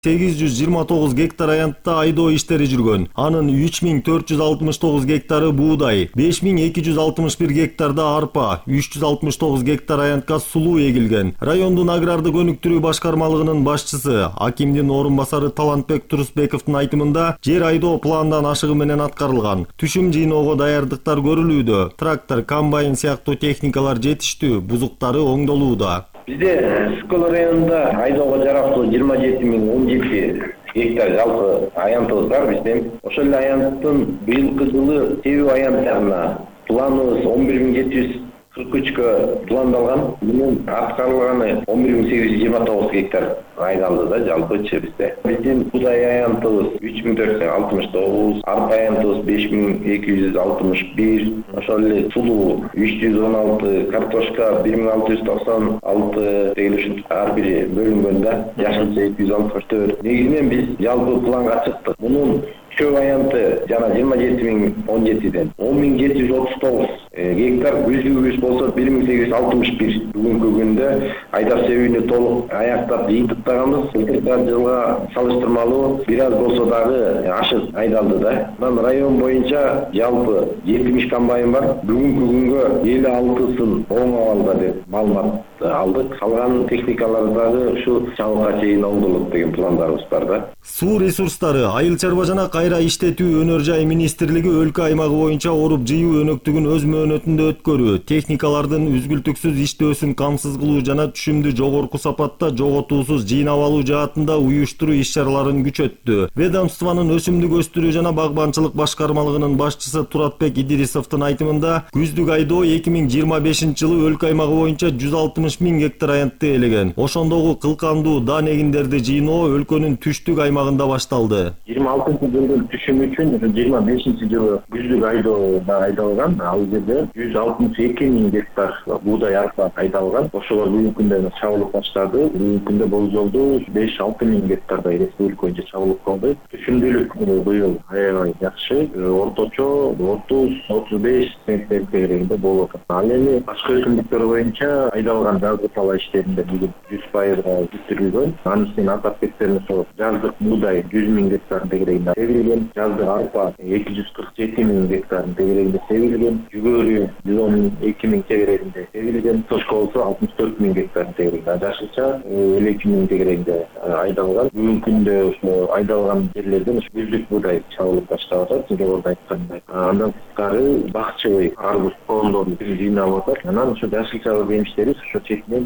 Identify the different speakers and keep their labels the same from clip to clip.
Speaker 1: 829 гектар аянтта айдоо иштери жүргөн. Анын 3469 гектары буудай, 5261 гектарда арпа, 369 гектар аянтка сулуу эгилген. Райондун аграрды өнүктүрүү башкармалыгынын башчысы, акимдин орун басары Талантбек Турусбековдун айтымында, жер айдоо пландан ашыгы менен аткарылган. Түшүм жыйноого даярдыктар көрүлүүдө. Трактор, комбайн сыяктуу техникалар жетиштүү, бузуктары оңдолууда.
Speaker 2: Бизде Скол районунда айдоого жарактуу 27017 гектар жалпы аянтыбыз бар бизден. Ошол эле аянттын быйылкы жылы себүү аянттарына планыбыз 11743кө пландалган. Мунун аткарылганы 11829 гектар айдалды да жалпычы бизде. Биздин буудай аянтыбыз 3469, арпа аянтыбыз 5261, ошол эле сулуу 316, картошка 1696 деген ушинтип ар бири бөлүнгөн да. Жашылча 264. Негизинен биз жалпы планга чыктык. Мунун чөп аянты жана 27017ден 10739 гектар, күздүгүбүз болсо 1861. Бүгүнкү күндө айдап себүүнү толук аяктап жыйынтыктаганбыз. Былтыркы жылга салыштырмалуу бир аз болсо дагы ашык айдалды да. Анан район боюнча жалпы 70 комбайн бар. Бүгүнкү күнгө 56сын оң абалда деп маалымат алдык. Калган техникалар дагы ушу чабыкка чейин оңдолот деген пландарыбыз бар да.
Speaker 1: Суу ресурстары, айыл чарба жана кайра иштетүү өнөр жай министрлиги өлкө аймагы боюнча оруп жыйуу өнөктүгүн өз мөөнөтүндө өткөрүү, техникалардын үзгүлтүксүз иштөөсүн камсыз кылуу жана түшүмдү жогорку сапатта жоготуусуз жыйнап алуу жаатында уюштуруу иш-чараларын күчөттү. Ведомствонун өсүмдүк өстүрүү жана багбанчылык башкармалыгынын башчысы Туратбек Идирисовдун айтымында, күздүк айдоо 2025-жылы өлкө аймагы боюнча 160 000 гектар аянтты ээлеген. Ошондогу кылкандуу даан эгиндерди жыйноо өлкөнүн түштүк аймагында башталды.
Speaker 2: 26-жылдын түшүмү үчүн 25-жылы күздүк айдоого айдалган. Ал жерде 162 000 гектар буудай арпа айдалган. Ошолор бүгүнкү күндө чабылып баштады. Бүгүнкү күндө болжолдуу 5-6 000 гектардай республика боюнча чабылып калды. Түшүмдүүлүк быйыл аябай жакшы. Орточо 30-35 центнер дегенде болуп атат. Ал эми башка өсүмдүктөр боюнча айдалган жаздык талаа иштеринде бүгүн 100%-га бүтүрүлгөн. Анын үстүнө атап кетсем, ошол жаздык буудай 100 000 гектар дегенде себилген, жаздык арпа 247 000 гектар дегенде себилген, жүгөрү 112 000 дегенде себилген, тошко болсо 64 000 гектар дегенде, жашылча 52 000 дегенде айдалган. Бүгүнкү күндө ошо айдалган жерлерден күздүк буудай чабылып баштап атат, жогоруда айткандай. Андан тышкары бакчыбый, арбуз, коомдорду жыйнап атат. Анан ошо жашылча жемиштери ошо четинен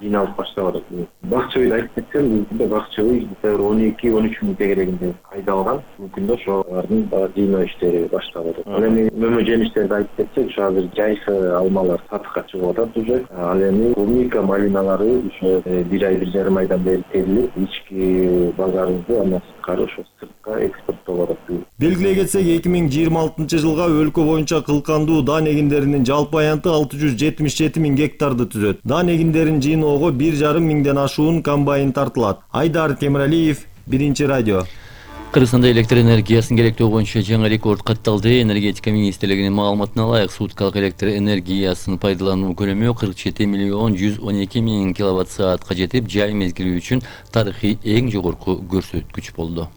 Speaker 2: жыйналып баштап атат. Бакчыбыйды айтып кетсем, бүгүнкү бакчыбый 12-13 000 дегенде айдалган. Бүгүнкү ошолордун жыйноо иштери башталып атат. Ал эми мөмө жемиштерди айтып кетсек, ошо азыр жайкы алмалар сатыкка чыгып атат уже. Ал эми клубника, малиналары ошо бир ай, 1,5 айдан бери терилип, ички базарыбызды андан сырткары ошо сыртка экспорттолуп атат.
Speaker 1: Белгилей кетсек, 2026-жылга өлкө боюнча кылкандуу даан эгиндеринин жалпы аянты 677 000 гектарды түзөт. Даан эгиндерин жыйноого 1,5 миңден ашуун комбайн тартылат. Айдар Темиралиев, Биринчи радио.
Speaker 3: Кыргызстанда электр энергиясын керектөө боюнча жаңы рекорд катталды. Энергетика министрлигинин маалыматына ылайык, суткалык электр энергиясын пайдалануу көлөмү 47,112,000 киловатт-саатка жетип, жай мезгили үчүн тарыхый эң жогорку көрсөткүч болду.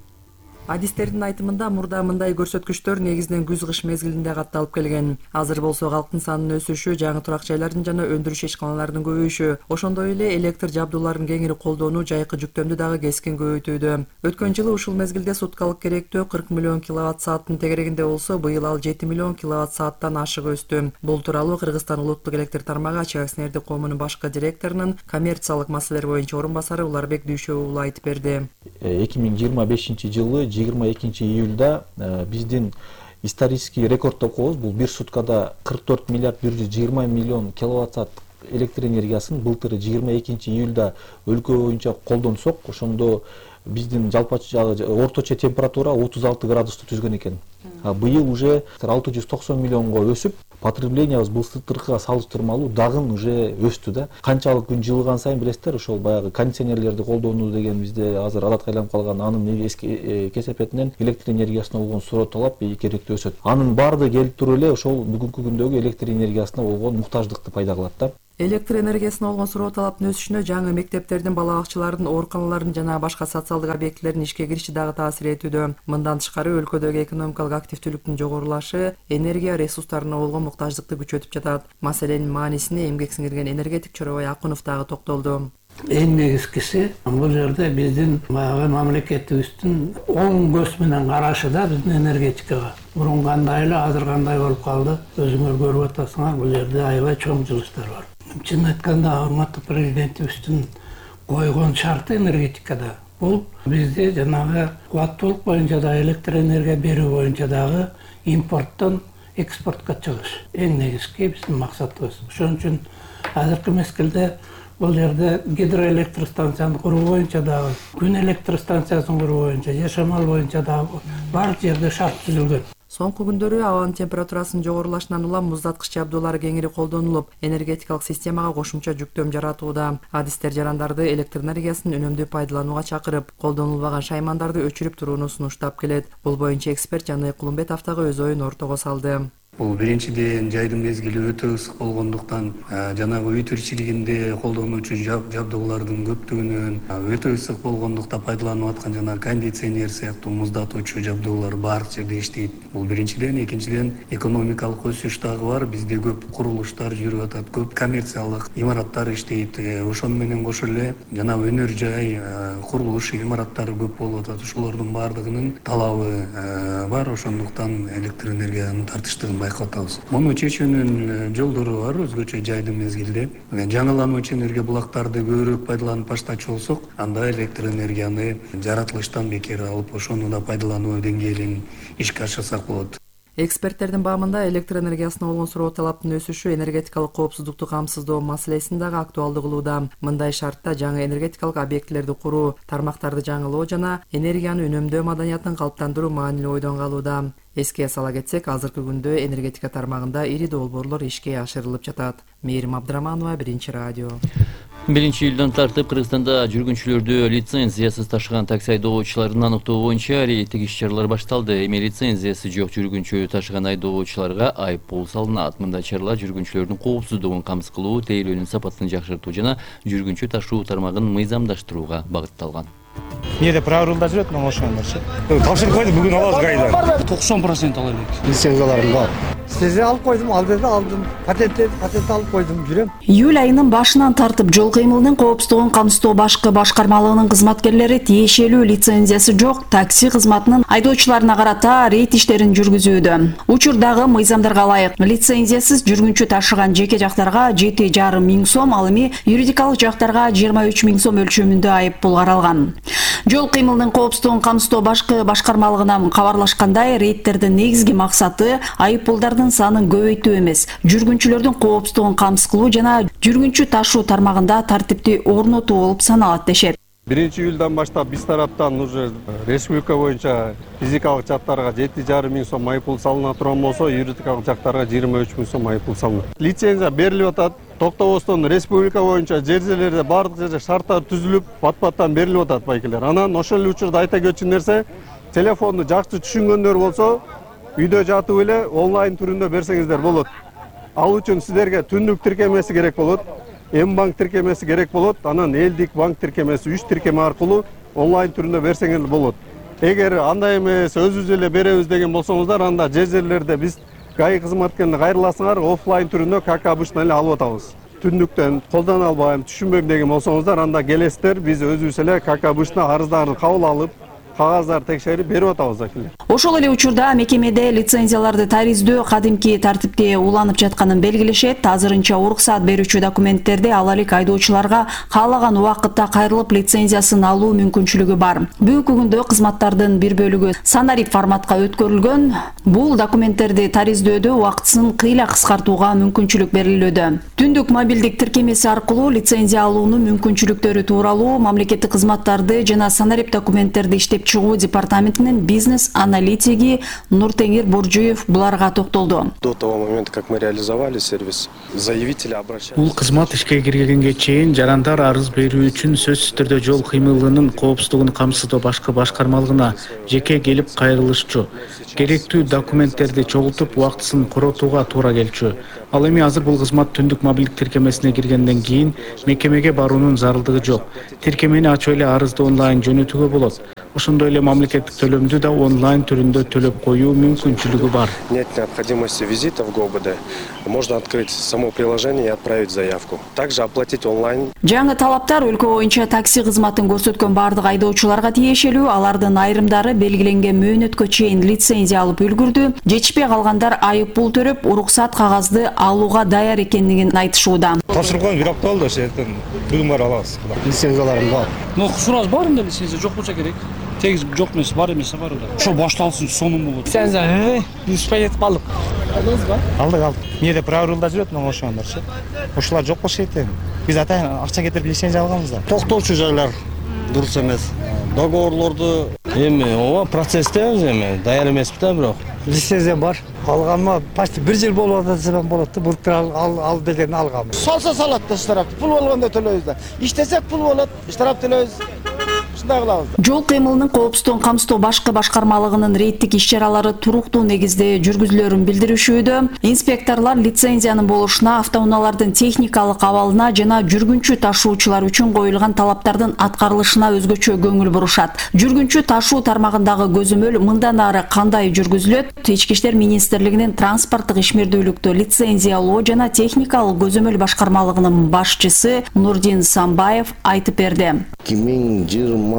Speaker 4: Адистердин айтымында мурда мындай көрсөткүчтөр негизинен күз-кыш мезгилинде катталып келген. Азыр болсо калктын санынын өсүшү, жаңы турак жайлардын жана өндүрүш ишканаларынын көбөйүшү, ошондой эле электр жабдууларын кеңири колдонуу жайкы жүктөмдү дагы кескин көбөйтүүдө. Өткөн жылы ушул мезгилде суткалык керектөө 40 миллион киловатт-сааттын тегерегинде болсо, быйыл ал 7 миллион киловатт-сааттан ашык өстү. Бул тууралуу Кыргызстан улуттук электр тармагы ачык акционердик коомунун башкы директорунун коммерциялык маселелер боюнча орун басары Уларбек Дүйшөбү уулу айтып берди.
Speaker 5: 2025-жылы 22-июлда биздин исторический рекорд деп коебуз. Бул бир суткада 44 миллиард 120 миллион киловатт-саат электр энергиясын былтыр 22-июлда өлкө боюнча колдонсок, ошондо биздин жалпы орточо температура 36 градусту түзгөн экен. Быйыл уже 690 миллионго өсүп, потреблениябыз былтыркыга салыштырмалуу дагы уже өстү да. Канчалык күн жылыган сайын билесиздер, ошол баягы кондиционерлерди колдонуу деген бизде азыр адатка айланып калган, анын кесепетинен электр энергиясына болгон суроо талап керектүү өсөт. Анын баардыгы келип туруп эле ошол бүгүнкү күндөгү электр энергиясына болгон муктаждыкты пайда кылат да.
Speaker 4: Электр энергиясына болгон суроо талаптын өсүшүнө жаңы мектептердин, бала бакчалардын, ооруканалардын жана башка социалдык объектилердин ишке кириши дагы таасир этүүдө. Мындан тышкары өлкөдөгү экономикалык активдүүлүктүн жогорулашы энергия ресурстарына болгон муктаждыкты күчөтүп жатат. Маселенин маанисине эмгек сиңирген энергетик Чоробай Акунов дагы токтолду.
Speaker 6: Эң негизгиси бул жерде биздин баягы мамлекетибиздин оң көз менен карашы да биздин энергетикага. Мурун кандай эле, азыр кандай болуп калды, өзүңөр көрүп атасыңар, бул жерде аябай чоң жылыштар бар. Чын айтканда, урматтуу президентибиздин койгон шарты энергетикада бул бизде жанагы кубаттуулук боюнча да, электр энергия берүү боюнча дагы импорттон экспортко чыгыш. Эң негизги биздин максатыбыз. Ошон үчүн азыркы мезгилде бул жерде гидроэлектростанцияны куруу боюнча дагы, күн электростанциясын куруу боюнча, же шамал боюнча дагы баардык жерде шарт түзүлгөн.
Speaker 4: Соңку күндөрү абанын температурасынын жогорулашынан улам муздаткыч жабдуулар кеңири колдонулуп, энергетикалык системага кошумча жүктөм жаратууда. Адистер жарандарды электр энергиясын үнөмдүү пайдаланууга чакырып, колдонулбаган шаймандарды өчүрүп турууну сунуштап келет. Бул боюнча эксперт Жаныбек Кулумбетов дагы өз оюн ортого салды.
Speaker 7: Бул биринчиден жайдын мезгили өтө ысык болгондуктан жанагы үй тиричилигинде колдонуучу жабдуулардын көптүгүнөн өтө ысык болгондуктан пайдаланып аткан жана кондиционер сыяктуу муздатуучу жабдуулар баардык жерде иштейт. Бул биринчиден, экинчиден экономикалык өсүш дагы бар. Бизде көп курулуштар жүрүп атат, көп коммерциялык имараттар иштейт. Ошону менен кошо эле жанагы өнөр жай, курулуш имараттары көп болуп атат. Ошолордун баардыгынын талабы бар. Ошондуктан электр энергиянын тартыштыгын байкатабыз. Муну чечүүнүн жолдору бар өзгөчө жайдын мезгилде. Жаңылануучу энергия булактарды көбүрөөк пайдаланып баштачу болсок, анда электр энергияны жаратылыштан бекер алып, ошону да пайдалануу деңгээлин ишке ашырсак болот.
Speaker 4: Эксперттердин баамында электр энергиясына болгон суроо талаптын өсүшү энергетикалык коопсуздукту камсыздоо маселесин дагы актуалдуу кылууда. Мындай шартта жаңы энергетикалык объектилерди куруу, тармактарды жаңылоо жана энергияны үнөмдөө маданиятын калыптандыруу маанилүү ойдон калууда. Эске сала кетсек, азыркы күндө энергетика тармагында ири долбоорлор ишке ашырылып жатат. Мээрим Абдыраманова, Биринчи радио.
Speaker 3: 1-июлдан тартып Кыргызстанда жүргүнчүлөрдү лицензиясыз ташыган такси айдоочуларын аныктоо боюнча рейдтик иш-чаралар башталды. Эми лицензиясы жок жүргүнчү ташыган айдоочуларга айыппул салынат. Мындай чаралар жүргүнчүлөрдүн коопсуздугун камсыз кылуу, тейлөөнүн сапатын жакшыртуу жана жүргүнчү ташуу тармагын мыйзамдаштырууга багытталган.
Speaker 8: Эмнеде правилда жүрөт, мен ошондорчу. Тапшырып койдум, бүгүн алабыз кайда.
Speaker 9: 90% ала элек.
Speaker 8: Лицензияларым бар.
Speaker 9: Сизе алып койдум, ал жерде алдым. Патент алып койдум, жүрөм.
Speaker 10: Июль айынын башынан тартып жол кыймылынын коопсуздугун камсыздоо башкы башкармалыгынын кызматкерлери тиешелүү лицензиясы жок такси кызматынын айдоочуларына карата рейд иштерин жүргүзүүдө. Учурдагы мыйзамдарга ылайык лицензиясыз жүргүнчү ташыган жеке жактарга 7,5 миң сом, ал эми юридикалык жактарга 23 миң сом өлчөмүндө айыппул каралган. Жол кыймылынын коопсуздугун камсыздоо башкы башкармалыгына кабарлашкандай, рейдтердин негизги максаты айыппулдардын санын көбөйтүү эмес, жүргүнчүлөрдүн коопсуздугун камсыз кылуу жана жүргүнчү ташуу тармагында тартипти орнотуу болуп саналат дешет.
Speaker 11: 1-июлдан баштап биз тараптан уже республика боюнча физикалык жактарга 7,5 миң сом айыппул салына турган болсо, юридикалык жактарга 23 миң сом айыппул салынат. Лицензия берилип атат. Токтобостон республика боюнча жерлерде бардык жерде шарттар түзүлүп, пат-паттан берилип атат байкелер. Анан ошол эле учурда айта кетчү нерсе, телефонду жакшы түшүнгөндөр болсо, үйдө жатып эле онлайн түрүндө берсеңиздер болот. Ал үчүн сиздерге түндүк тиркемеси керек болот, М-банк тиркемеси керек болот, анан элдик банк тиркемеси 3 тиркеме аркылуу онлайн түрүндө берсеңиз болот. Эгер андай эмес, өзүбүз эле беребиз деген болсоңуздар, анда жерлерде биз ГАИ кызматкерине кайрыласыңар, оффлайн түрүндө как обычно эле алып атабыз. Түндүктөн колдоно албайм, түшүнбөйм деген болсоңуздар, анда келесиздер, биз өзүбүз эле как обычно арыздарды кабыл алып, кагаздарды текшерип берип атабыз акилер.
Speaker 10: Ошол эле учурда мекемеде лицензияларды тариздөө кадимки тартипте уланып жатканын белгилешет. Азырынча уруксаат берүүчү документтерди ала элек айдоочуларга каалаган убакытта кайрылып лицензиясын алуу мүмкүнчүлүгү бар. Бүгүнкү күндө кызматтардын бир бөлүгү санарип форматка өткөрүлгөн. Бул документтерди тариздөөдө убактысын кыйла кыскартууга мүмкүнчүлүк берилүүдө. Түндүк мобилдик тиркемеси аркылуу лицензия алуунун мүмкүнчүлүктөрү тууралуу мамлекеттик кызматтарды жана санарип документтерди иштеп чыгуу департаментинин бизнес аналитиги Нуртеңир Буржуев буларга токтолду.
Speaker 12: До того момента, как мы реализовали сервис, заявители обращались.
Speaker 13: Бул кызмат ишке киргенге чейин жарандар арыз берүү үчүн сөзсүз түрдө жол кыймылынын коопсуздугун камсыздоо башкы башкармалыгына жеке келип кайрылышчу. Керектүү документтерди чогултуп убактысын коротууга туура келчү. Ал эми азыр бул кызмат түндүк мобилдик тиркемесине киргенден кийин мекемеге баруунун зарылдыгы жок. Тиркемени ачып эле арызды онлайн жөнөтүүгө болот. Ошондой эле мамлекеттик төлөмдү да онлайн түрүндө төлөп коюу мүмкүнчүлүгү бар.
Speaker 12: Нет необходимости визита в ГОБД. Можно открыть само приложение и отправить заявку. Также оплатить онлайн.
Speaker 10: Жаңы талаптар өлкө боюнча такси кызматын көрсөткөн бардык айдоочуларга тиешелүү. Алардын айрымдары белгиленген мөөнөткө чейин лицензия алып үлгүрдү. Жетишпей калгандар айып пул төрөп, уруксат кагазды алууга даяр экендигин айтышууда.
Speaker 8: Тапшырылган бир апта болду, ошентен бүгүн барып алабыз. Лицензияларым бар.
Speaker 14: Сураж бар эмне лицензия жок болсо керек. Тегиз жок эмес, бар эмес бар да. Ошо башталсын, сонун болот.
Speaker 9: Лицензия, успай этип калдык.
Speaker 14: Алдыңызбы?
Speaker 8: Алдык. Мээде правилда жүрөт мына ошондорчу. Ошолар жок болуш керек. Биз атайын акча кетирип лицензия алганбыз да.
Speaker 15: Токтоочу жайлар дурус эмес. Договорлорду эми ооба процесстебиз эми, даяр эмеспиз да бирок.
Speaker 9: Лицензия бар. Алганыма почти 1 жыл болуп атат болот да. Былтыр ал деген алгам.
Speaker 15: Салса салат да штраф. Пул болгондо төлөйбүз да. Иштесек пул болот, штраф төлөйбүз.
Speaker 10: Жол кыймылынын коопсуздугун камсыздоо башкы башкармалыгынын рейдтик иш-чаралары туруктуу негизде жүргүзүлөрүн билдиришүүдө. Инспекторлор лицензиянын болушуна, автоунаалардын техникалык абалына жана жүргүнчү ташуучулар үчүн коюлган талаптардын аткарылышына өзгөчө көңүл бурушат. Жүргүнчү ташуу тармагындагы көзөмөл мындан ары кандай жүргүзүлөт? Ички иштер министрлигинин транспорттук ишмердүүлүктө лицензия алуу жана техникалык көзөмөл башкармалыгынын башчысы Нурдин Самбаев айтып берди.
Speaker 16: 2023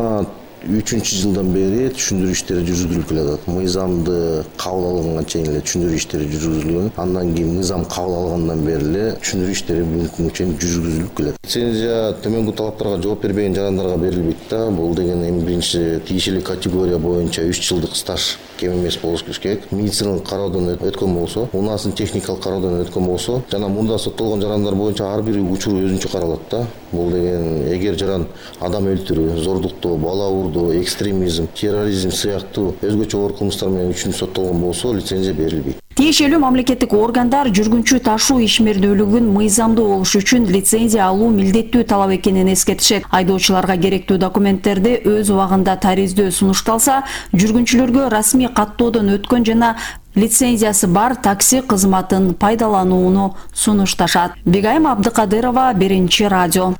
Speaker 16: жылдан бери түшүндүрүү иштери жүргүзүлүп келатат. Мыйзамды кабыл алганга чейин эле түшүндүрүү иштери жүргүзүлгөн. Андан кийин мыйзам кабыл алгандан бери эле түшүндүрүү иштери бүгүнкү күнгө чейин жүргүзүлүп келет. Лицензия төмөнгү талаптарга жооп бербеген жарандарга берилбейт да. Бул деген эми биринчи тиешелүү категория боюнча 3 жылдык стаж кем эмес болуш керек. Медициналык кароодон өткөн болсо, унаасын техникалык кароодон өткөн болсо, жана мурда соттолгон жарандар боюнча ар бир учур өзүнчө каралат да. Бул деген эгер жаран адам өлтүрүү, зордуктоо, бала урдоо, экстремизм, терроризм сыяктуу өзгөчө оор кылмыштар менен үчүн соттолгон болсо, лицензия берилбейт.
Speaker 10: Тиешелүү мамлекеттик органдар жүргүнчү ташуу ишмердүүлүгүн мыйзамдуу болуш үчүн лицензия алуу милдеттүү талап экенин эскертишет. Айдоочуларга керектүү документтерди өз убагында тариздөө сунушталса, жүргүнчүлөргө расмий каттоодон өткөн жана лицензиясы бар такси кызматын пайдаланууну сунушташат. Бегайым Абдыкадырова, Биринчи радио.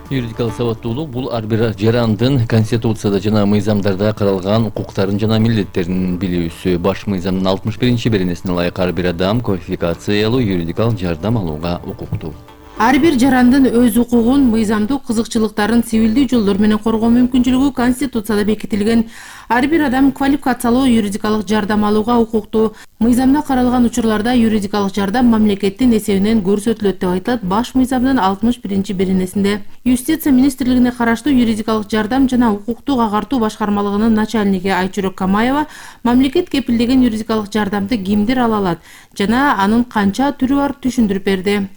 Speaker 3: Юридикалык сабаттуулук бул ар бир жарандын конституцияда жана мыйзамдарда каралган укуктарын жана милдеттерин билүүсү. Баш мыйзамдын 61-беренесине ылайык ар бир адам квалификациялуу юридикалык жардам алууга укуктуу.
Speaker 17: Ар бир жарандын өз укугун, мыйзамдык кызыкчылыктарын цивилдүү жолдор менен коргоо мүмкүнчүлүгү Конституцияда бекитилген. Ар бир адам квалификациялуу юридикалык жардам алууга укуктуу. Мыйзамда каралган учурларда юридикалык жардам мамлекеттин эсебинен көрсөтүлөт деп айтылат баш мыйзамдын 61-беренесинде. Юстиция министрлигине караштуу юридикалык жардам жана укуктук агартуу башкармалыгынын начальниги Айчүрөк Камаева мамлекет кепилдеген юридикалык жардамды кимдер ала алат жана анын канча түрү бар түшүндүрүп берди.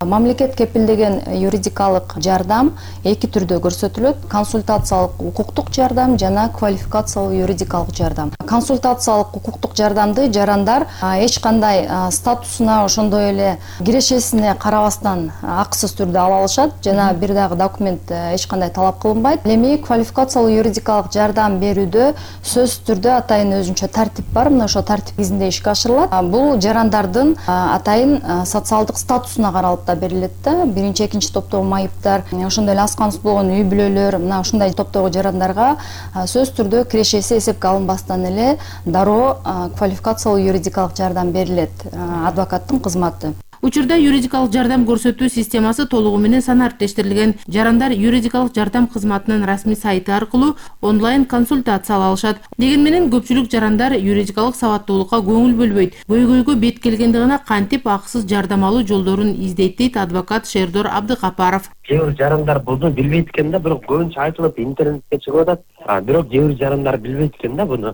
Speaker 18: Мамлекет кепилдеген юридикалык жардам эки түрдө көрсөтүлөт: консультациялык укуктук жардам жана квалификациялуу юридикалык жардам. Консультациялык укуктук жардамды жарандар эч кандай статусуна, ошондой эле кирешесине карабастан акысыз түрдө ала алышат жана бир дагы документ эч кандай талап кылынбайт. Эми квалификациялуу юридикалык жардам берүүдө сөзсүз түрдө атайын өзүнчө тартип бар. Мына ошо тартип негизинде ишке ашырылат. Бул жарандардын атайын социалдык статусуна каралып берилет да. Биринчи, экинчи топтогу майыптар, ошондой эле аз камсыз болгон үй бүлөлөр, мына ушундай топтогу жарандарга сөзсүз түрдө кирешеси эсепке алынбастан эле дароо квалификациялуу юридикалык жардам берилет, адвокаттын кызматы.
Speaker 17: Учурда юридикалык жардам көрсөтүү системасы толугу менен санариптештирилген. Жарандар юридикалык жардам кызматынын расмий сайты аркылуу онлайн консультация ала алышат. Деген менен көпчүлүк жарандар юридикалык сабаттуулукка көңүл бөлбөйт. Көйгөйгө бет келгенде гана кантип акысыз жардам алуу жолдорун издейт дейт адвокат Шердор Абдыкапаров.
Speaker 19: Кээ бир жарандар буну билбейт экен да, бирок көбүнчө айтылып интернетке чыгып атат. Бирок кээ бир жарандар билбейт экен да буну.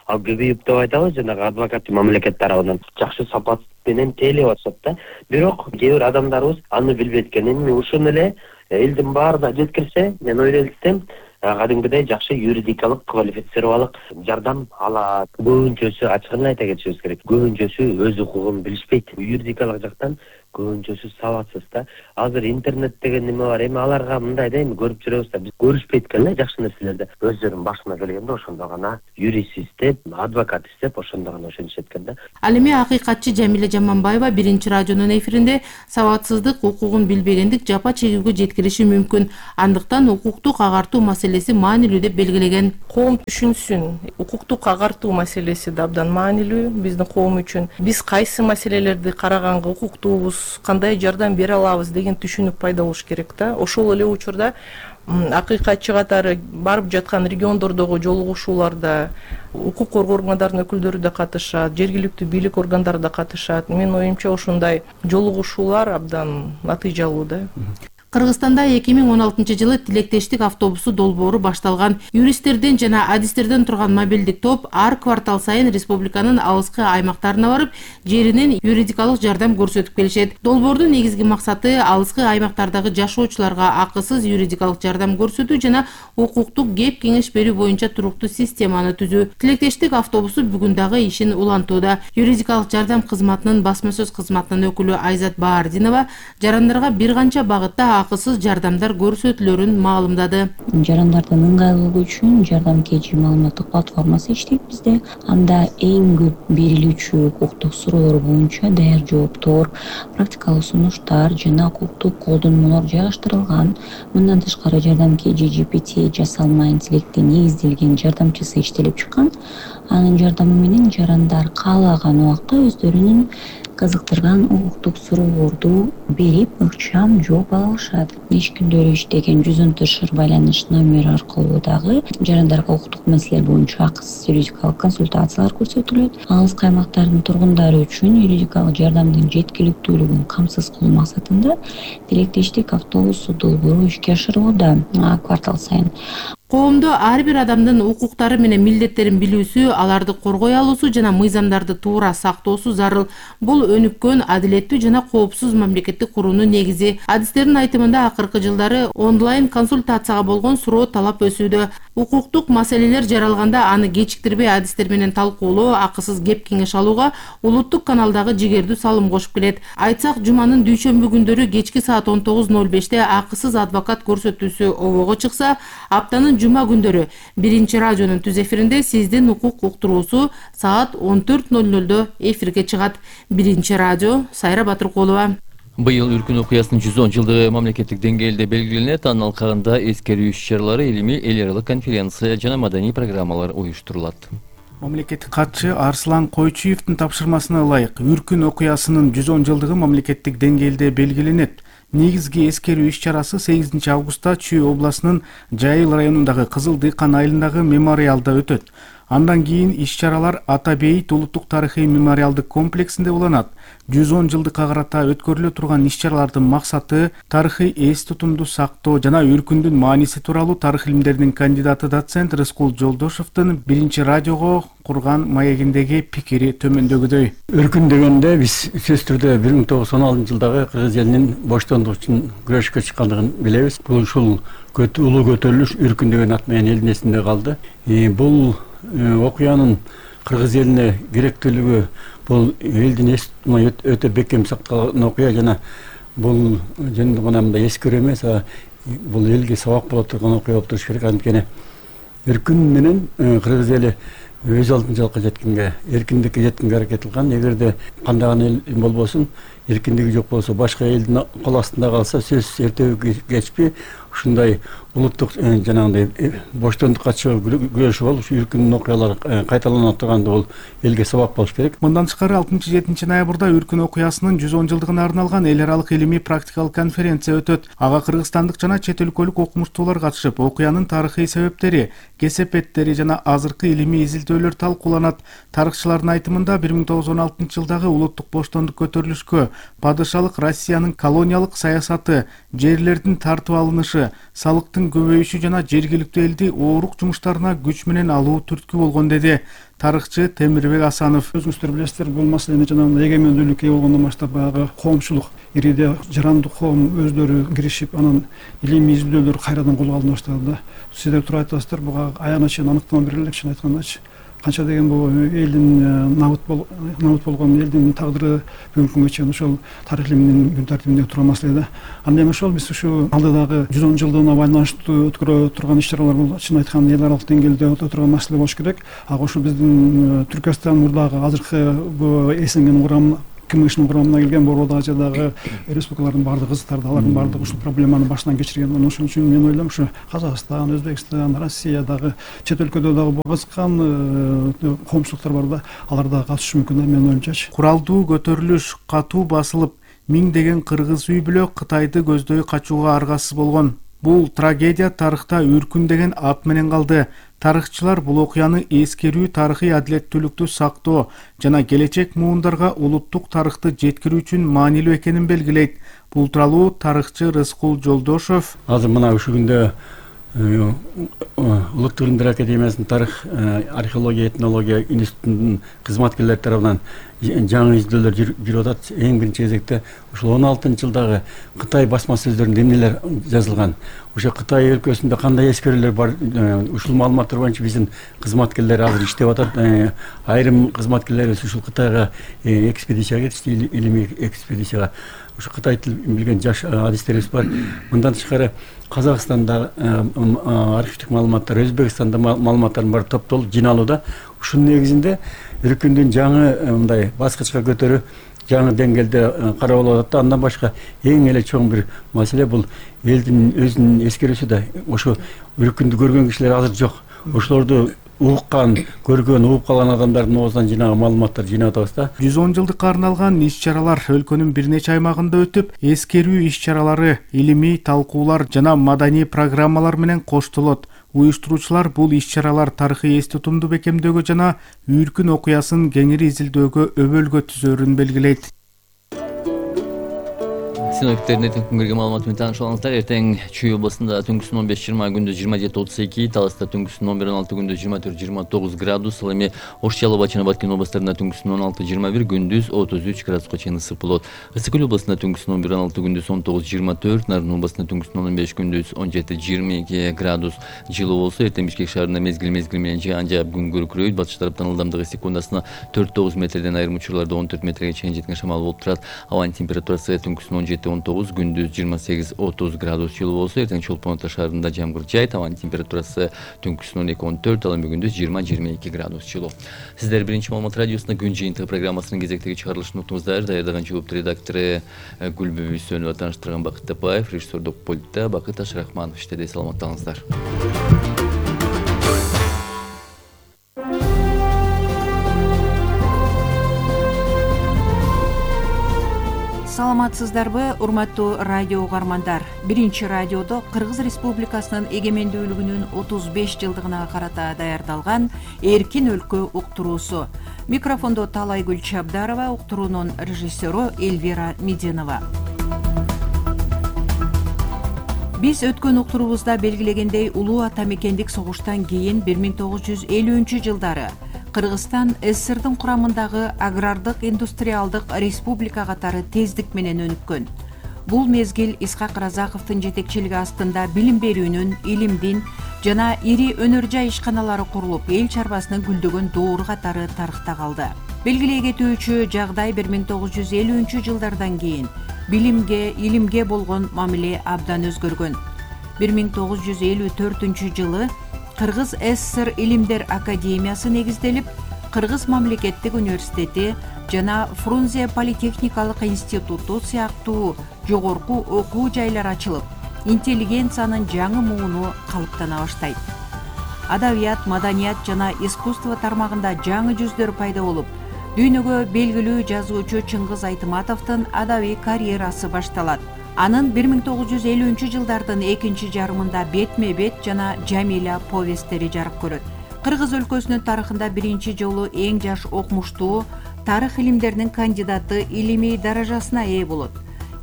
Speaker 19: Ал көбөйүп деп айтабыз, жанагы адвокаттын мамлекет тарабынан жакшы сапат менен тейлеп атышат да. Бирок кээ бир адамдарыбыз аны билбейт экен. Эми ушуну эле элдин баарына жеткирсе, мен ойлойм кадимгидей жакшы юридикалык квалифицировалык жардам алат. Көбүнчөсү ачыгын айта кетишибиз керек. Көбүнчөсү өз укугун билишпейт. Юридикалык жактан көбүнчөсү сабатсыз да. Азыр интернет деген неме бар. Эми аларга мындай да эми көрүп жүрөбүз да. Биз көрүшпөйт экен эле жакшы нерселерди. Өздөрүнүн башына келгенде ошондо гана юрист издеп, адвокат издеп ошондо гана ошентишет экен да.
Speaker 17: Ал эми акыйкатчы Жамиля Жаманбаева биринчи радионун эфиринде сабатсыздык укугун билбегендик жапа чегүүгө жеткириши мүмкүн. Андыктан укуктук агартуу маселеси маанилүү деп белгилеген.
Speaker 20: Коом түшүнсүн, укуктук агартуу маселеси да абдан маанилүү биздин коом үчүн. Биз кайсы маселелерди караганга укуктуубуз, кандай жардам бере алабыз деген түшүнүк пайда болуш керек да. Ошол эле учурда акыйкатчы катары барып жаткан региондордогу жолугушууларда укук коргоо органдарынын өкүлдөрү да катышат, жергиликтүү бийлик органдары да катышат. Менин оюмча ушундай жолугушуулар абдан натыйжалуу да.
Speaker 17: Кыргызстанда 2016-жылы тилектештик автобусу долбоору башталган. Юристтерден жана адистерден турган мобилдик топ ар квартал сайын республиканын алыскы аймактарына барып, жеринен юридикалык жардам көрсөтүп келишет. Долбоордун негизги максаты алыскы аймактардагы жашоочуларга акысыз юридикалык жардам көрсөтүү жана укуктук кеп кеңеш берүү боюнча туруктуу системаны түзүү. Тилектештик автобусу бүгүн дагы ишин улантууда. Юридикалык жардам кызматынын басма сөз кызматынын өкүлү Айзат Баардинова жарандарга бир канча багытта акысыз жардамдар көрсөтүлөрүн маалымдады.
Speaker 21: Жарандардын ыңгайлуулугу үчүн жардам KG маалыматтык платформасы иштейт бизде. Анда эң көп берилүүчү укуктук суроолор боюнча даяр жооптор, практикалык сунуштар жана укуктук колдонмолор жайгаштырылган. Мындан тышкары жардам KG GPT жасалма интеллектке негизделген жардамчысы иштелип чыккан. Анын жардамы менен жарандар каалаган убакта өздөрүнүн кызыктырган укуктук суроолорду берип, ыкчам жооп ала алышат. Иш күндөрү иштеген 114 байланыш номери аркылуу дагы жарандарга укуктук маселелер боюнча акысыз юридикалык консультациялар көрсөтүлөт. Алыскы аймактардын тургундары үчүн юридикалык жардамдын жеткиликтүүлүгүн камсыз кылуу максатында тилектештик автобусу долбоору ишке ашырылууда квартал сайын.
Speaker 17: Коомдо ар бир адамдын укуктары менен милдеттерин билүүсү, аларды коргой алуусу жана мыйзамдарды туура сактоосу зарыл. Бул өнүккөн, адилеттүү жана коопсуз мамлекетти куруунун негизи. Адистердин айтымында акыркы жылдары онлайн консультацияга болгон суроо талап өсүүдө. Укуктук маселелер жаралганда аны кечиктирбей адистер менен талкуулоо, акысыз кеп кеңеш алууга улуттук каналдагы жигердүү салым кошуп келет. Айтсак, жуманын дүйшөмбү күндөрү кечки саат 19:05 акысыз адвокат көрсөтүүсү обого чыкса, аптанын жума күндөрү биринчи радионун түз эфиринде сиздин укук уктуруусу саат 14:00 эфирге чыгат. Биринчи радио, Сайра Батыркулова.
Speaker 3: Быйыл Үркүн окуясынын 110 жылдыгы мамлекеттик деңгээлде белгиленет. Анын алкагында эскерүү иш-чаралары, илимий, эл аралык конференция жана маданий программалар уюштурулат.
Speaker 13: Мамлекеттик катчы Арслан Койчуевдин тапшырмасына ылайык Үркүн окуясынын 110 жылдыгы мамлекеттик деңгээлде белгиленет. Негизги эскерүү иш-чарасы 8 августта Чүй областынын Жайыл районундагы Кызыл Дыйкан айылындагы мемориалда өтөт. Андан кийин иш-чаралар Ата Бейит улуттук тарыхый мемориалдык комплексинде уланат. 110 жылдыкка карата өткөрүлө турган иш-чаралардын максаты тарыхый эс тутумду сактоо жана Үркүндүн мааниси тууралуу тарых илимдеринин кандидаты доцент Рыскул Жолдошовдун биринчи радиого курган маегиндеги пикири төмөндөгүдөй.
Speaker 22: Үркүн дегенде биз сөзсүз түрдө 1916-жылдагы кыргыз элинин боштондук үчүн күрөшкө чыккандыгын билебиз. Бул ушул улуу көтөрүлүш Үркүн деген ат менен элдин эсинде калды. Бул окуянын кыргыз элине керектүүлүгү бул элдин эс өтө бекем сакталган окуя жана бул жөн гана мындай эскерүү эмес, бул элге сабак боло турган окуя болуп туруш керек. Анткени Үркүн менен кыргыз эли өз алдынчалыкка жеткенге, эркиндикке жеткенге аракет кылган. Эгерде кандаган эл болбосун, эркиндиги жок болсо, башка элдин кол астында калса, сөзсүз эртеби кечпи ушундай улуттук жанагындай боштондукка чыгуу күрөшү болуп, Үркүндүн окуялары кайталана турганда бул элге сабак болуш керек.
Speaker 13: Мындан тышкары 6-7 ноябрда Үркүн окуясынын 110 жылдыгына арналган эл аралык илимий практикалык конференция өтөт. Ага кыргызстандык жана чет өлкөлүк окумуштуулар катышып, окуянын тарыхый себептери, кесепеттери жана азыркы илимий изилдөөлөр талкууланат. Тарыхчылардын айтымында 1916-жылдагы улуттук боштондук көтөрүлүшкө падышалык Россиянын колониялык саясаты, жерлердин тартып алынышы, салыктын көбөйүшү жана жергиликтүү элди оорук жумуштарына күч менен алуу түрткү болгон деди.
Speaker 1: тарыхчы Темирбек Асанов.
Speaker 2: Өзүңүздөр билесиздер, бул маселени жанагындай эгемендүүлүккө ээ болгондон баштап баягы коомчулук ириде жарандык коом өздөрү киришип, анан илимий изилдөөлөр кайрадан колго алына баштады да. Сиздер туруп айтасыздар, буга аягына чейин аныктама бере элек, чын айткандачы. Канча деген бул элдин набыт болгон элдин тагдыры бүгүнкү күнгө чейин ошол тарых илиминин күн тартибинде турган маселе да. Анда эми ошол биз ушу алдыдагы 110 жылдыгына байланыштуу өткөрө турган иш-чаралар бул чын айтканда эл аралык деңгээлде өтө турган маселе болуш керек. Ошо биздин Түркстан мурдагы азыркы бул СНГнын курамына КМШнын курамына келген Борбордук Азиядагы республикалардын баардык кызыктарды, алардын баардыгы ушул проблеманы башынан кечирген. Ошон үчүн мен ойлойм, ушу Казакстан, Өзбекстан, Россиядагы чет өлкөдө дагы бул кызыккан коомчулуктар бар да, алар дагы катышышы мүмкүн да, менин оюмчачы.
Speaker 1: Куралдуу көтөрүлүш катуу басылып, миңдеген кыргыз үй бүлө Кытайды көздөй качууга аргасыз болгон. Бул трагедия тарыхта үркүн деген ат менен калды. Тарыхчылар бул окуяны эскерүү, тарыхый адилеттүүлүктү сактоо жана келечек муундарга улуттук тарыхты жеткирүү үчүн маанилүү экенин белгилейт. Бул тууралуу тарыхчы Рыскул Жолдошов
Speaker 22: азыр мына ушул күндө Улуттук илимдер академиясынын тарых археология этнология институтунун кызматкерлери тарабынан жаңы изилдөөлөр жүрүп атат. Эң биринчи кезекте ушул 16-жылдагы Кытай басма сөздөрүндө эмнелер жазылган, ошо Кытай өлкөсүндө кандай эскерүүлөр бар, ушул маалыматтар боюнча биздин кызматкерлер азыр иштеп атат. Айрым кызматкерлерибиз ушул Кытайга экспедицияга кетишти, илимий экспедицияга. Ушу Кытай тилин билген жаш адистерибиз бар. Мындан тышкары Казакстанда архивдик маалыматтар, Өзбекстанда маалыматтардын баары топтолуп жиналууда. Ушунун негизинде үркүндүн жаңы мындай баскычка көтөрүү, жаңы деңгээлде карап алып атат. Андан башка эң эле чоң бир маселе бул элдин өзүнүн эскерүүсү да. Ошо үркүндү көргөн кишилер азыр жок. Ошолорду уккан, көргөн, угуп калган адамдардын оозунан жинаган маалыматтар жыйнап атабыз да.
Speaker 1: 110 жылдыкка арналган иш-чаралар өлкөнүн бир нече аймагында өтүп, эскерүү иш-чаралары, илимий талкуулар жана маданий программалар менен коштолот. Уюштуруучулар бул иш-чаралар тарыхый эс тутумду бекемдөөгө жана үркүн окуясын кеңири изилдөөгө өбөлгө түзөөрүн белгилейт.
Speaker 3: Синоптиктердин эртең күнгөргө маалыматы менен тааныша алыңыздар. Эртең Чүй областында түнкүсүн 15-20, күндүз 27-32, Таласта түнкүсүн 11-16, күндүз 24-29 градус. Ал эми Ош, Жалал Бачына, Баткен областарында түнкүсүн 16-21, күндүз 33 градуска чейин ысык болот. Ысык Көл областында түнкүсүн 11-16, күндүз 19-24, Нарын областында түнкүсүн 15, күндүз 17-22 градус жылуу болсо, эртең Бишкек шаарында мезгил менен жаан жаап күн күркүрөйт. Батыш тараптан ылдамдыгы секундасына 4-9 метрден, айрым учурларда 14 метрге чейин жеткен шамал болуп турат. Абанын температурасы түнкүсүн 17-19, күндүз 28-30 градус жылуу болсо, эртең Чолпон Ата шаарында жамгыр жаайт. Абанын температурасы түнкүсүн 12-14, ал эми күндүз 20-22 градус жылуу. Сиздер биринчи маалымат радиосунда күн жыйынтыгы программасынын кезектеги чыгарылышын уктуңуздар. Даярдаган жооптуу редактору Гүлбү Бүйсөнова, тааныштырган Бакыт Тапаев, режиссердик пультта Бакыт Ашрахманов иштеди. Саламаттаңыздар.
Speaker 23: Саламатсыздарбы, урматтуу радио угармандар. Биринчи радиодо Кыргыз Республикасынын эгемендүүлүгүнүн 35 жылдыгына карата даярдалган Эркин өлкө уктуруусу. Микрофондо Талайгүл Чабдарова, уктуруунун режиссеру Эльвира Мединова. Биз өткөн уктуруубузда белгилегендей, улуу ата мекендик согуштан кийин 1950-жылдары Кыргызстан СССРдин курамындагы агрардык индустриалдык республика катары тездик менен өнүккөн. Бул мезгил Исхак Разаковдун жетекчилиги астында билим берүүнүн, илимдин жана ири өнөр жай ишканалары курулуп, эл чарбасынын гүлдөгөн доору катары тарыхта калды. Белгилей кетүүчү жагдай 1950-жылдардан кийин билимге, илимге болгон мамиле абдан өзгөргөн. 1954-жылы Кыргыз СССР Илимдер академиясы негизделип, Кыргыз мамлекеттик университети жана Фрунзе политехникалык институту сыяктуу жогорку окуу жайлар ачылып, интеллигенциянын жаңы мууну калыптана баштайт. Адабият, маданият жана искусство тармагында жаңы жүздөр пайда болуп, дүйнөгө белгилүү жазуучу Чыңгыз Айтматовдун адабий карьерасы башталат. Анын 1950-жылдардын экинчи жарымында Бетме-бет жана Жамиля повесттери жарык көрөт. Кыргыз өлкөсүнүн тарыхында биринчи жолу эң жаш окумуштуу тарых илимдеринин кандидаты илимий даражасына ээ болот.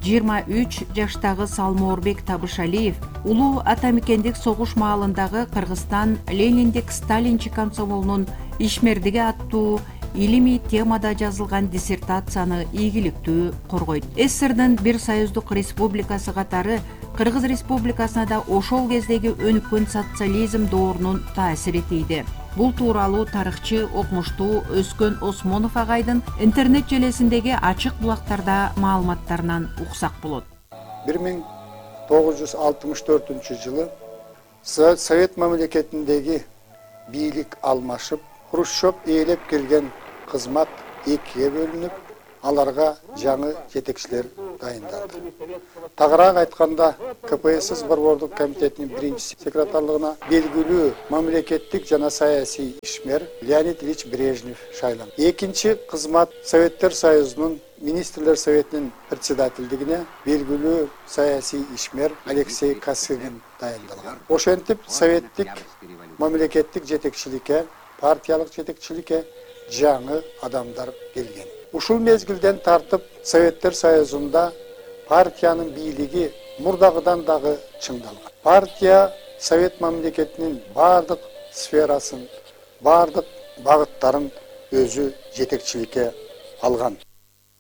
Speaker 23: 23 жаштагы Салмоорбек Табышалиев улуу ата мекендик согуш маалындагы Кыргызстан Лениндик Сталинчи комсомолунун ишмердиги аттуу илимий темада жазылган диссертацияны ийгиликтүү коргойт. СССРдин бир союздук республикасы катары Кыргыз республикасына да ошол кездеги өнүккөн социализм доорунун таасири тийди. Бул тууралуу тарыхчы окумуштуу Өскөн Осмонов агайдын интернет желесиндеги ачык булактарда маалыматтарынан уксак болот.
Speaker 5: 1964 Совет мамлекетиндеги бийлик алмашып, Хрущев ээлеп келген кызмат экиге бөлүнүп, аларга жаңы жетекчилер дайындалды. Тагыраак айтканда, КПСС Борбордук комитетинин биринчи секретарлыгына белгилүү мамлекеттик жана саясий ишмер Леонид Ильич Брежнев шайланды. Экинчи кызмат Советтер Союзунун Министрлер Советинин председательдигине белгилүү саясий ишмер Алексей Косыгин дайындалган. Ошентип советтик мамлекеттик жетекчиликке, партиялык жетекчиликке жаңы адамдар келген. Ушул мезгилден тартып Советтер Союзунда партиянын бийлиги мурдагыдан дагы чыңдалган. Партия Совет мамлекетинин бардык сферасын, бардык багыттарын өзү жетекчиликке алган.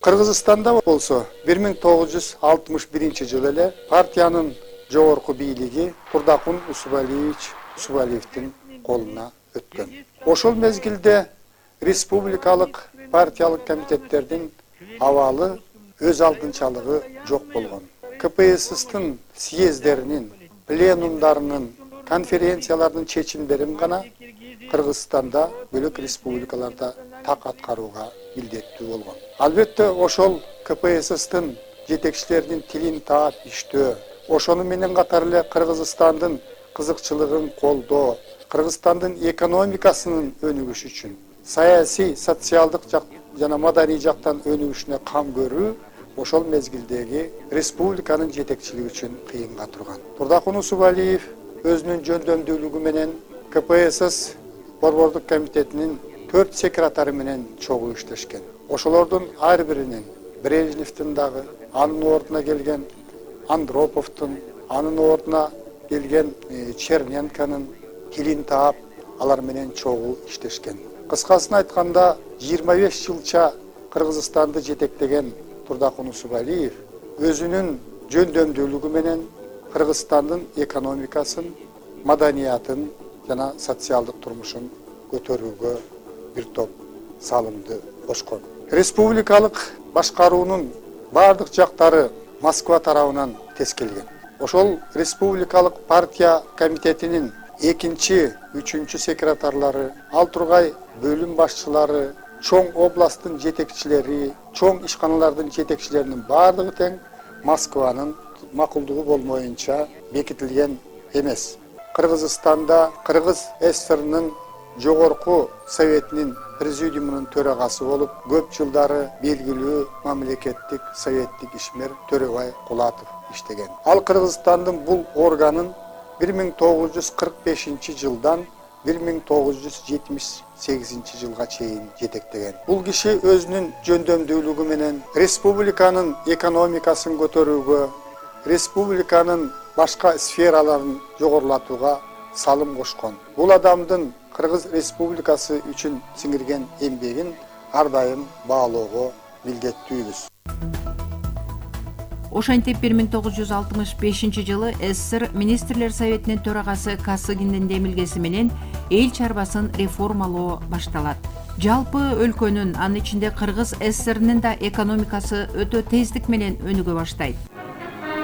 Speaker 5: Кыргызстанда болсо 1961 жылы эле партиянын жогорку бийлиги Турдакун Усубалиевдин колуна өткөн. Ошол мезгилде республикалык партиялык комитеттердин абалы өз алдынчалыгы жок болгон. КПССтин съездеринин, пленумдарынын, конференциялардын чечимдерин гана Кыргызстанда бөлөк республикаларда так аткарууга милдеттүү болгон. Албетте ошол КПССтин жетекчилеринин тилин таап иштөө, ошону менен катар эле Кыргызстандын кызыкчылыгын колдоо, Кыргызстандын экономикасынын өнүгүшү үчүн, саясий, социалдык жана маданий жактан өнүгүшүнө кам көрүү ошол мезгилдеги республиканын жетекчилиги үчүн кыйынга турган. Турдакун Усубалиев өзүнүн жөндөмдүүлүгү менен КПСС Борбордук комитетинин 4 секретары менен чогуу иштешкен. Ошолордун ар биринин Брежневдин дагы, анын ордуна келген Андроповдун, анын ордуна келген Черненконун тилин таап, алар менен чогуу иштешкен. Кыскасын айтканда, 25 жылча Кыргызстанды жетектеген Турдакун Усубалиев өзүнүн жөндөмдүүлүгү менен Кыргызстандын экономикасын, маданиятын жана социалдык турмушун көтөрүүгө бир топ салымды кошкон. Республикалык башкаруунун бардык жактары Москва тарабынан тескелген. Ошол республикалык партия комитетинин экинчи, үчүнчү секретарлары, ал тургай бөлүм башчылары, чоң областтын жетекчилери, чоң ишканалардын жетекчилеринин бардыгы тең Москванын макулдугу болмоюнча бекитилген эмес. Кыргызстанда Кыргыз СССРнын жогорку советинин президиумунун төрагасы болуп, көп жылдары белгилүү мамлекеттик советтик ишмер Төрөбай Кулатов иштеген. Ал Кыргызстандын бул органын 1945 жылдан 1978 жылга чейин жетектеген. Бул киши өзүнүн жөндөмдүүлүгү менен республиканын экономикасын көтөрүүгө, республиканын башка сфераларын жогорулатууга салым кошкон. Бул адамдын Кыргыз Республикасы үчүн сиңирген эмгегин ар дайым баалоого милдеттүүбүз.
Speaker 23: Ошентип 1965 жылы СССР Министрлер Советинин төрагасы Косыгиндин демилгеси менен эл чарбасын реформалоо башталат. Жалпы өлкөнүн, анын ичинде Кыргыз СССРнин да экономикасы өтө тездик менен өнүгө баштайт.